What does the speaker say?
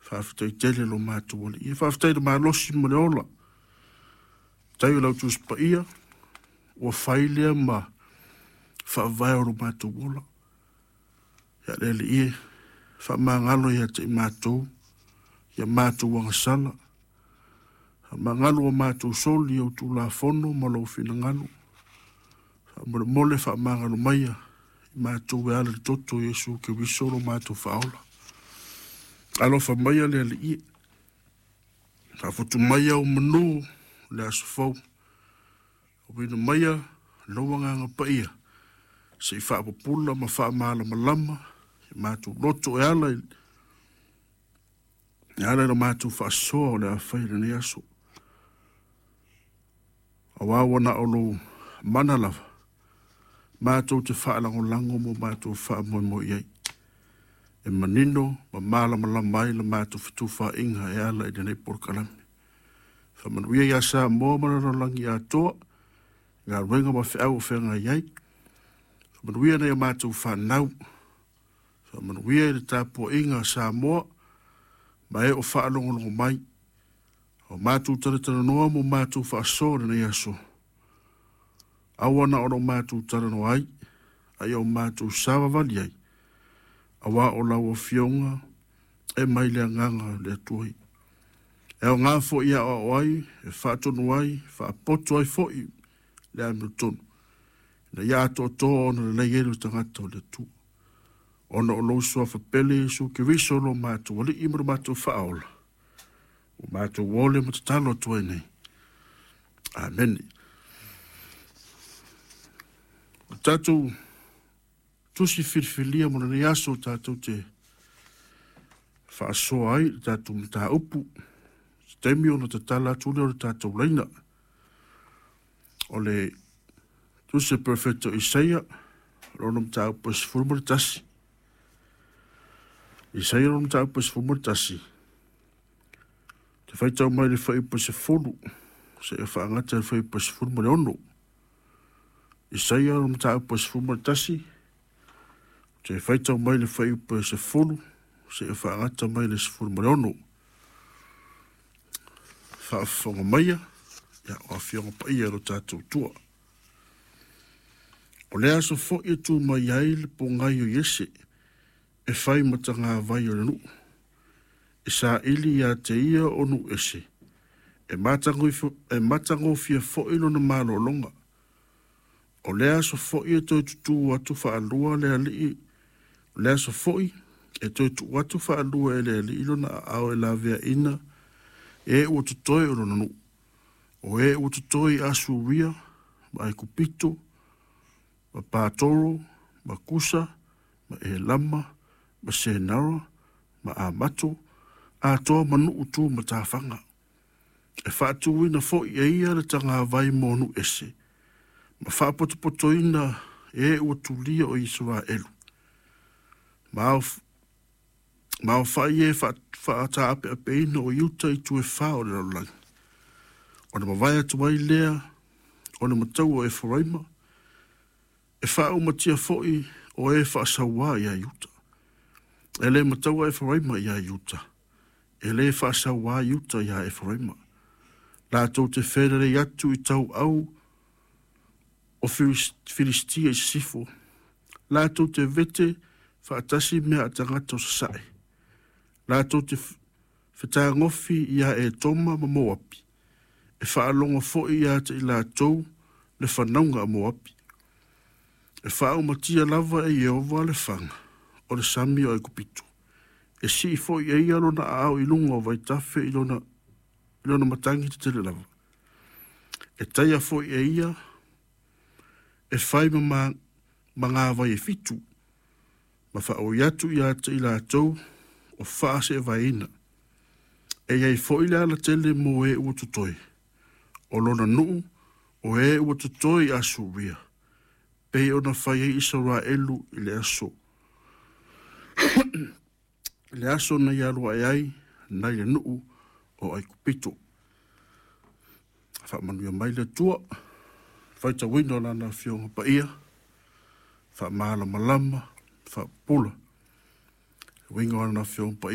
Faafetai tele lo matou Alii. E faafetai i le malosi ma le ola. Faafetai o lau Tusi Paia ua fai lea ma faavae o lo matou ola. Ia le Alii e, faamagalo ia te i matou ia matou agasala. Faamagalo a matou soli i au Tulafono ma lou finagalo. Faamolemole faamagalo maia i matou e ala i le toto o Iesu Keriso lo matou Faaola. Alofa maia le Alii e, faafotu maia au manu o le aso fou. Auina maia lou Agaga Paia se i faapupula ma faamalamalama i matou loto e ala i le matou faasoa o le a fai i lenei aso. Aua ua na o lou mana lava matou te faalagolago ma matou faamoemoe i ai, e manino ma malamalama ai la matou fetufaaiga e ala i lenei polokalame. Faamanuia ia Samoa ma le lalolagi atoa, galuega ma feau o feagai ai. Faamanuia nai a matou fanau, faamanuia i le tapuaiga a Samoa ma e o faalogologo mai. O matou talatalanoa ma matou faasoa i lenei aso, aua na o lo matou talanoa ai, a ia o matou savavali ai, aua o lau Afioga e mai le agaga o le Atua. E aoga foi e aoao ai, e faatonu ai, e faapoto ai foi le amiotonu, ina ia atoatoa ona lelei ai le tagata o le Atua. Ona o lou suafa pele Iesu Keriso lo matou Alii ma lo matou Faaola, ua matou ole ma tatalo atu ai nei. Amene. O tatou tusi filifilia mo lenei aso tatou te faasoa ai le tatou mataupu, se taimi ona tatala atu lea o le tatou laina. O le tusi a Perofeta o Isaia, lona mataupu e 11. Isaia lona mataupu e 11. Te faitau mai le fuaiupu e 10, seia faagata le fuaiupu e 16. Isaia lona mataupu e 11, te faitau mai le fuaiupu e 10, seia faagata mai le 16. Faafofoga maia, ia, o Afioga Paia i lo tatou Atua. O le aso foi e tu mai ai le pogai o Iese e fai ma tagavai o le nuu, e saili ia te ia o nuu ese, e matagofie foi lona malologa. O le aso foi e toe tutū atu faalua le alii, o le aso foi e toe tuu atu faalua e le Alii lona aao e laveaina e ua totoe o lona nuu, o e ua totoe i Asuria ma Aikupito ma Patoro ma Kusa ma Elama ma Senara ma Amato, atoa ma nuu tu matafaga. E faatuina foi e ia le tagavai mo nuu ese, ma faapotopotoina e ua tulia o Isaraelu. Ma aofai e faataapeapeina o Iuta i itu e fa o le lalolagi. Ona mavae atu ai lea o le mataua o Eferaima, e faaumatia foi o e faasauā ia Iuta. E le mataua Eferaima ia Iuta, e le faasauā Iuta ia Eferaima. Latou te felelei atu i tauau o Filistia i sisifo, latou te vete faatasi mea a tagata o sasae, latou te fetagofi ia Etoma ma Moapi, e faalogo foi ia te i latou le fanauga a Moapi. E faaumatia lava e Ieova le faga o le sami o Aikupito, e sii foi e ia lona aao i luga o vaitafe i lona matagi tetele lava. E taia foi e ia e fai ma magavai e fitu, ma faaoi atu ia te i latou o faaseevaeina. E i ai foi le alatele mo e ua totoe, o lona nuu o e ua totoe i Asuria, pei ona fai ai Isaraelu i le aso. Le aso na ia alu ae ai nai le nuu o Aikupito. Faamanuia mai le Atua, faitauina o lana Afioga Paia, faamalamalama, faapupula. Uiga o lana Afioga Paia.